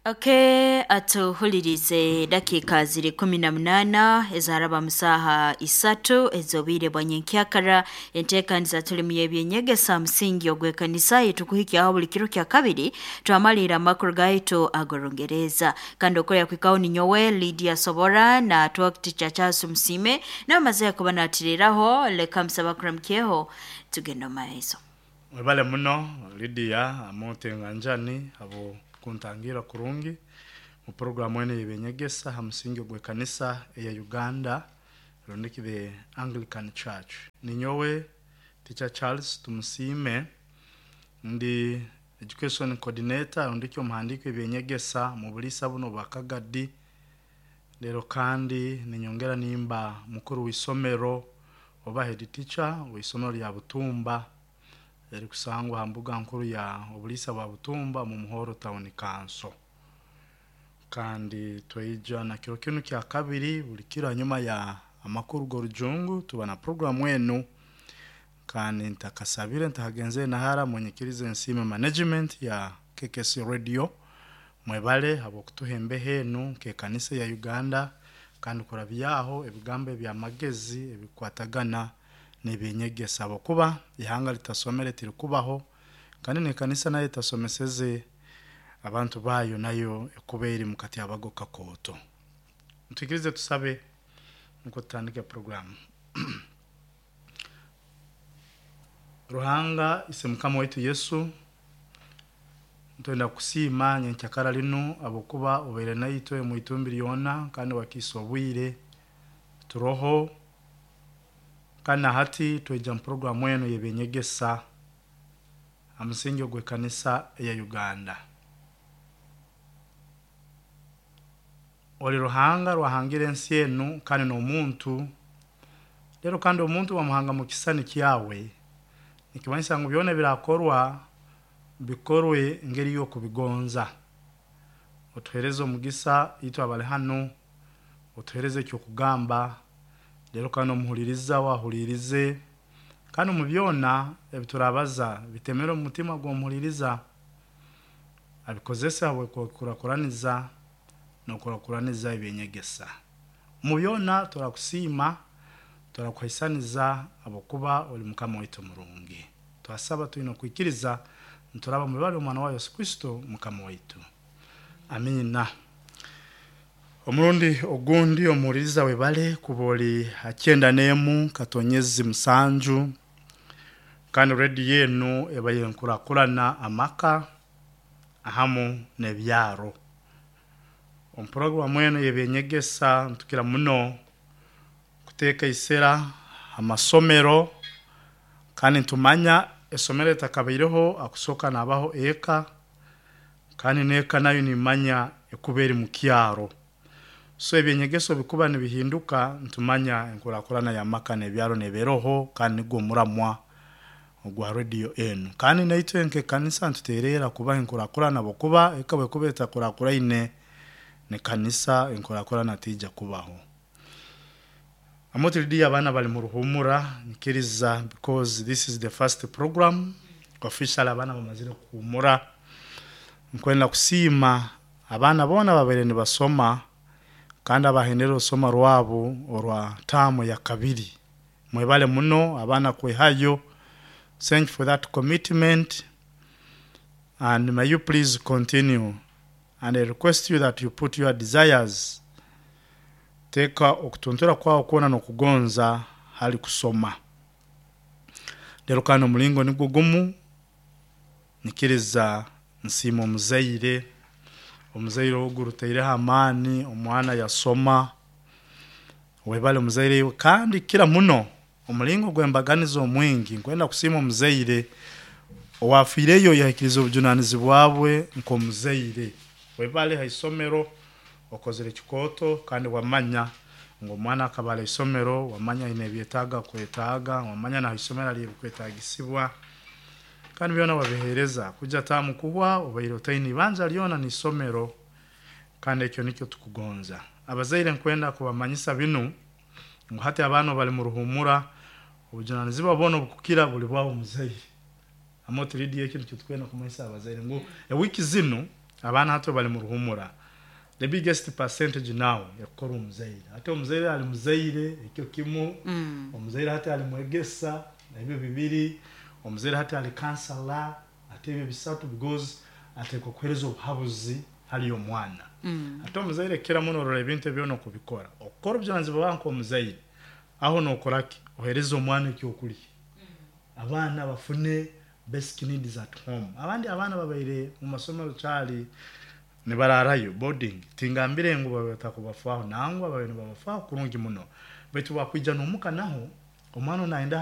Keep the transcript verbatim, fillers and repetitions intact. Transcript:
Okay, atuhulirize dakika ziri kumi na munana ezaraba musaha isatu ezobwire bwa nyenkyakara. Enteekaniza tulimu y'ebyenyegesa musingi ogw'ekanisa yetukuhikyaho buli kiro kya kabiri twamalira amakuru gaitu ag'orungereza. Kandi okorya kwikaho ninyowe Lydia Sobora na talk teacher Charles Musime n'amaze kuba natiriraho. Leka musaba kuramukyeho tugenda omu maiso. Webale muno Lydia amote nganjani abo kuntangira kurungi mu programu eno yebenyegesa ha musingi gw'ekanisa eya Uganda rundiki the Anglican Church. Ninyowe Teacher Charles Tumusiime, ndi education coordinator rundiki omuhandiiko ebyenyegesa mu buliisa buno bwa Kagadi. Lero kandi ninyongera nimba mukuru w'isomero oba head teacher w'isomero lya Butumba erikusangwa ha mbuga nkuru ya obuliisa bwa Butumba mu Muhoro Town Council. Kandi tweija na kiro kinu kya kabiri buli kiro hanyuma ya amakuru g'orujungu tuba na programu enu. Kandi ntakasabire ntakagenze nahara munyikirize nsiime management ya K K C Radio mwebale habwokutuha embeho enu nk'ekanisa ya Uganda, kandi kurabyaho ebigambo eby'amagezi ebikwatagana n'ebyenyegesa, habwokuba ihanga litasomere tirikubaho, kandi n'ekanisa nayo etasomeseze abantu bayo nayo ekuba eri mukati abago kakooto. Ntwikirize tusabe nukwo tutandike programu. Ruhanga ise Mukama waitu Yesu, ntwenda kusiima nyenkyakara linu habwokuba obaire naitwe omu itumbi lyona kandi wakiisa obwire turoho. Kandi na hati tweija mu programu enu y'ebyenyegesa ha musingi ogw'ekanisa eya Uganda. Oli Ruhanga rwahangire ensi enu kandi n'omuntu, lero kandi omuntu wamuhanga mu kisani kyawe, nikimanyisa ngu byona ebirakorwa bikorwe ngeri y'okubigonza. Otuhereze omugisa itwe abali hanu, otuhereze ekyokugamba, lero kandi omuhuliriza wahulirize, kandi omu byona ebiturabaza bitemere omu mutima gw'omuhuliriza, abikozese habw'okukurakuraniza n'okurakuraniza ebyenyegesa. Omu byona turakusiima, turakuhaisaniza habwokuba oli Mukama waitu murungi. Twasaba twine okwikiriza nturaba mu ibara ly'omwana wa Yesu Kristo Mukama waitu. Amiina. Omurundi ogundi omuhuliriza webale kuba oli ha kyenda n'emu katonyezi musanju, kandi rediyo enu ebaire nkurakurana amaka ahamu n'ebyaro. Omu programu enu y'ebyenyegesa ntukira muno kuteeka isera amasomero, kandi ntumanya esomero etakabaireho akusooka nabaho eka, kandi n'eka nayo nimanya ekuba eri mu kyaro. So ebyenyegeso bikuba nibihinduka ntumanya enkurakurana y'amaka n'ebyaro neberoho, kandi nigwo omuramwa ogwa rediyo enu. Kandi naitwe nk'ekanisa ntuteerera kubaha enkurakurana habwokuba eka bwekuba etakurakuraine n'ekanisa enkurakurana tiija kubaho. Amote Lydia abaana bali mu ruhumura nkiriza because this is the first program official abaana bamazire kuhumura. Nkwenda kusiima abaana boona babaire nibasoma kandi abahendera orusoma rwabo orwa taamu ya kabiri. Mwebale muno abaana kwehayo. Thank you for that commitment, and may you please continue. And I request you that you put your desires, teeka okutuntura kwawe kwona n'okugonza hali kusoma. Lero kandi omulingo nigwo gumu nyikiriza nsiima omuzaire, omuzaire ogu rutaireho amaani omwana yasoma, webale omuzaire iwe. Kandi kira muno omulingo gw'embaganiza omwingi nkwenda kusiima omuzaire owafiireyo yahikiriza obujunanizibwa bwe nk'omuzaire. Webale ha isomero okozere ekikooto kandi wamanya ngu omwana akaba ali isomero, wamanya aine ebyetaaga kwetaaga, wamanya na ha isomero ali ebikwetaagisibwa, kandi byona wabiheereza. Kuja taamu kuhwa obaire otaine ibanja lyona n'isomero, kandi ekyo nikyo tukugonza. Abazaire nkwenda kubamanyisa binu ngu hati abaana bali mu ruhumura, obujunanizibwa bwona obukukira buli bwawe omuzaire. Amote Lydia ekyo nikyo tukwenda kumanyisa abazaire ngu ewiiki zinu Abaana hati bali mu ruhumura, the biggest percentage now ekukora omuzaire. Ate omuzaire ali muzaire ekyo kimu, Mm. omuzaire hati ali mwegesa, ebyo bibiri, omuzaire hati ali counselor, ate ebyo bisatu, because atekwa kuhereza obuhabuzi hali omwana. Mm. Ate omuzaire kira muno orora ebintu ebyona okubikora, okukora obujunanizibwa bwawe nk'omuzaire, aho nokoraki? Ohereza omwana ekyokulya, abaana bafune basic needs at home. Abandi abaana babaire mu masomero kyali nibararayo boarding, tingambire ngu babe batakubafaho, nangwa babe nibabafaho kurungi muno, baitu wakwija n'omuka naho omwana nayenda.